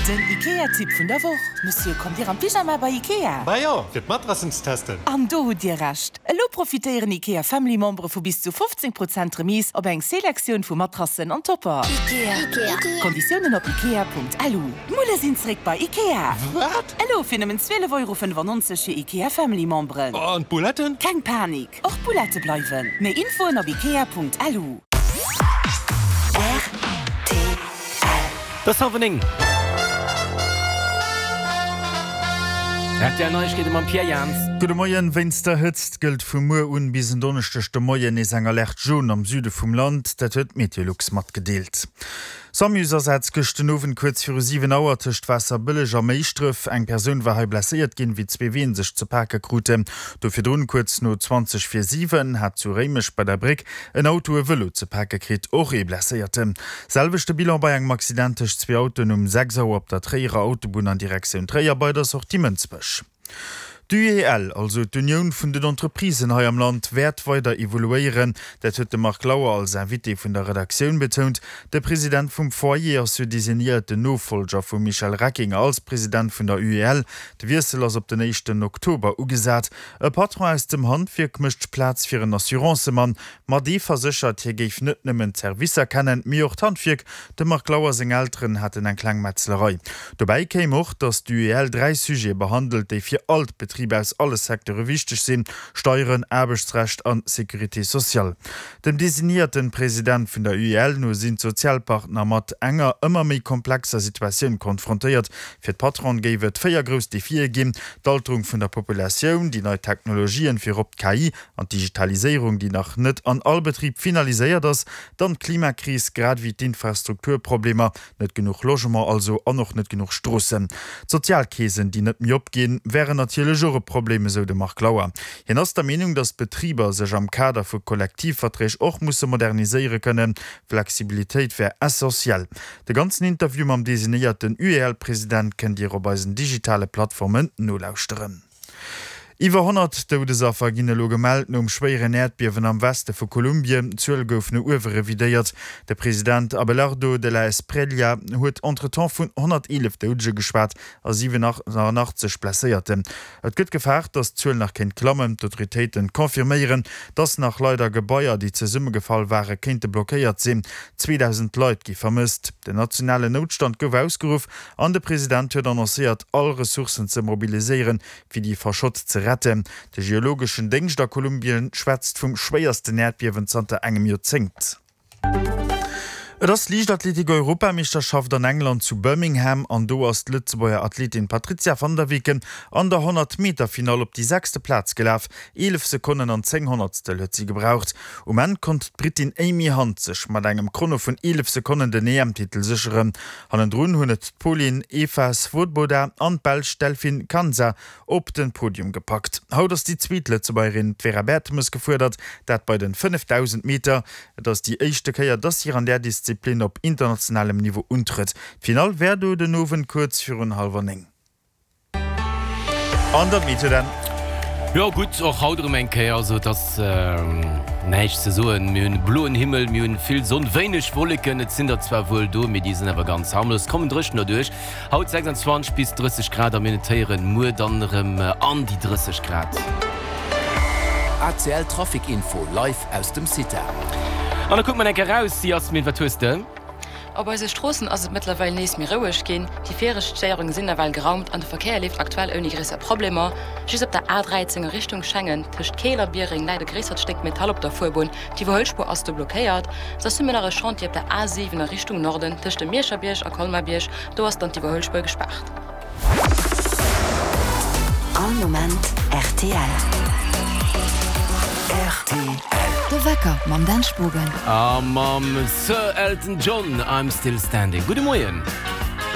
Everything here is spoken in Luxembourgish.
Den Ikea-Tipp vun der Woch, Monsieur, kommt Dir am Pyjama bei Ikea? Bah jo, fir d'Matrassen ze testen. An do hutt Dir Recht! Elo profitéieren Ikea Family Membere vu bis zu 15 Prozent Remise op eng Selektioun vu Matrassen an Topper. Ikea. Konditiounen op ikea.lu. D'Mulle sinn zréck bei Ikea! Wat? Elo fir nëmmen 12,95 Euro fir Ikea Family Memberen. An d'Bouletten? Keng Panik, och d'Boulette bleiwen. Méi Infoen op ikea.lu. Rtl. Et ass hallwer 9. Rtl Neiegkeete mam Pierre Jans. Gudde Moien. Wéinst der Hëtzt gëllt vu muer un bis en Donneschdeg de Moien nees eng Alerte jaune am Süde vum Land. Dat huet Meteolux matgedeelt. Samus-Asaz gëscht den Owend kuerz viru 7 Auer tëscht Waasserbëlleg a Méischdref. Eng Persoun war hei blesséiert ginn, wéi zwee Ween sech ze pake kruten. Do virdrun, kuerz no 20 vir 7, hat zu Réimech bei der Bréck En Auto, e Vëlo ze pake kritt, och ee Blesséierten. Selwechte Bilan bei engem Accident tëscht zwee Autoen um 6 Auer op der Tréierer Autobunn an Direktioun Tréier bei der Sortie Mënsbech. D'UEL, also d'Unioun vun den Entreprisen hei am Land, wäert weider evoluéieren. Dat huet de Marc Lauer als Invité vun der Redaktioun betount. De President vum Foyer ass jo designéierten Nofollger vum Michel Reckinger als President vun der UEL. De Wiessel ass op den éischten Oktober ugesat. E Patron aus dem Handwierk mécht Plaz fir en Assurancemann. Ma dee verséchert, hie géif net nëmmen d'Servicer kennen, mee och d'Handwierk. Dem Marc Lauer seng Elteren haten eng kleng Metzlerei. Dobäi kéim och, datt d'UEL 3 Sujete behandelt, déi fir all d'Betriber aus alle Secteure wichteg sinn, Steieren, Aarbechtsrecht an Sécurité sociale. Dem designéierten President vun der UEL no sinn d'Sozialpartner mat enger ëmmer méi komplexer Situatioun konfrontéiert. Fir d'Patronen géif et 4 grouss Defie ginn, d'Alterung vun der Populatioun, déi nei Technologien, virop d'KI an d'Digitaliséierung, déi nach net an all Betrib finaliséiert ass, dann d'Klimakris, grad ewéi d'Infrastrukturproblemer, net genuch Logement also an och net genuch Stroossen. D'Sozialkeesen, déi net méi opginn, wären natierlech och e Problem, esou de Marc Lauer. Hien ass der Meenung, datt d'Betriber sech am Kader vu Kollektivverträg och musse moderniséiere kënnen. Flexibilitéit wär essentiell. De ganzen Interview mam designéierten UEL-President kënnt Dir op eisen digitale Plattformen nolauschteren. Iwwer 100 Doudesaffer ginn elo gemellt nom schwéieren Äerdbiewen am Weste vu Kolumbien. D'Zuel gouf no uewe revidéiert. De President Abelardo de la Espriella huet entretemps vun 111 Doudege geschwat a 87 Blesséierten. Et gëtt gefaart, datt d'Zuel nach kéint klammen. D'Autoritéiten confirméieren, datt nach Leit a Gebaier, déi zesummegefall ware kéinte blockéiert sinn. 2.000 Leit gi vermësst. Den nationalen Noutstand gouf ausgeruff an de President huet annoncéiert, all Ressourcen ze mobiliséieren, fir déi Verschott ze retten. De geologeschen Déngscht a Kolumbien schwätzt vum schwéiersten Äerdbiewen zanter engem Joerzéngt. Et ass d'Liichtathletik-Europameeschterschaft an England zu Birmingham an do ass d'Lëtzebuerger Athletin Patrizia van der Weken an der 100 Meter Finall op déi sechste Plaz gelaf. 11 Sekonnen an 10 Honnertstel huet si gebraucht. Um Enn konnt d'Brittin Amy Hunt sech mat engem Chrono vun 11 Sekonnen den EM-Titel sécheren. Hannendrun hunn et d'Polin Eva Swoboda an d'Belsch Delphine Kanza op den Podium gepackt. Haut ass déi zweet Lëtzebuergerin, d'Vera Bertemes, gefuerdert, dat bei den 5000 Meter. Et ass déi éischte Kéier, dass si an där Disziplin op internationalem Niveau untrëtt. D'Finall wär do den Owend kuerz virun hallwer 9. An der Meteo dann. Jo gutt, och haut erëm eng Kéier, also et ass näischt ze soen. Mir hunn e bloen Himmel, mir hunn vill Sonn, wéineg Wolleken, et sinn der zwar wuel do, mee déi sinn awer ganz harmlos, kommen dréchen derduerch. Haut 26 bis 30 Grad a mir notéieren muer dann erëm an déi 30 Grad. ACL Trafic Info live aus dem CITA. An da kucke mer enk eraus, Yasmin, wat hues de? Op eise Stroossen ass et mëttlerweil nees méi roueg ginn. Déi viregt Stéierunge sinn nawell geraumt an de Verkéier leeft aktuell ouni gréisser Problemer. Just op der A13 a Richtung Schengen, tëscht Keel a Biereng, läit e gréissert Stéck Metall op der Fuerbunn. D'Iwwerhuelspuer ass do blockéiert. Soss hu mir nach e Chantier op der A7 a Richtung Norden, tëscht dem Mierscherbierg a Colmarbierg. Do ass dann d'Iwwerhuelspuer gespaart. All Moment rtl. Rtl. De Wecker mam Dan Spogen. A mam Sir Elton John, I'm Still Standing. Gudde Moien.